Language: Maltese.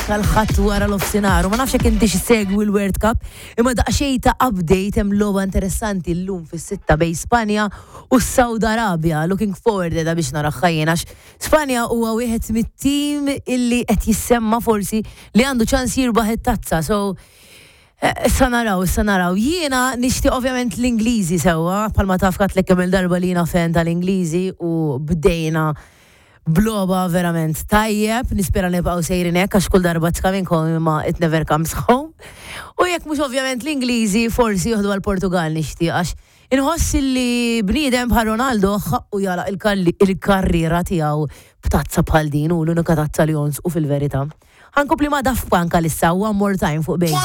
miegħek għal Ħadd wara nofsinhar. U ma nafx jekk inti segwi l-World Cup, imma daqsxejn ta' update, hemm logħba interessanti llum fis-6 bejn Spanja u Saudi Arabia. Looking forward da biex naraha jien għax Spanja huwa wieħed mit-tim illi qed jissemma forsi li għandu ċans jirbaħ it-tazza. So issa naraw, issa naraw. Jiena nixtieq ovvjament l-Ingliżi sewwa, bħalma taf għedtlek kemm il-darba li jiena fan tal-Ingliżi u bdejna b'logħba verament tajjeb, nispera nibqgħu sejrin hekk għax kull darba it's coming home imma it never comes home. U jekk mhux ovvjament l-Ingliżi, forsi joħdu għal-Portugal, nixtieq għax inħoss li bniedem bħal Ronaldo ħaqqu jagħlaq il-karriera tiegħu b'tazza bħal din u l-unika tazza li jonqsu fil-verità. Ħa nkompli ma' Daft Punk għalissa, One More Time fuq Bejn.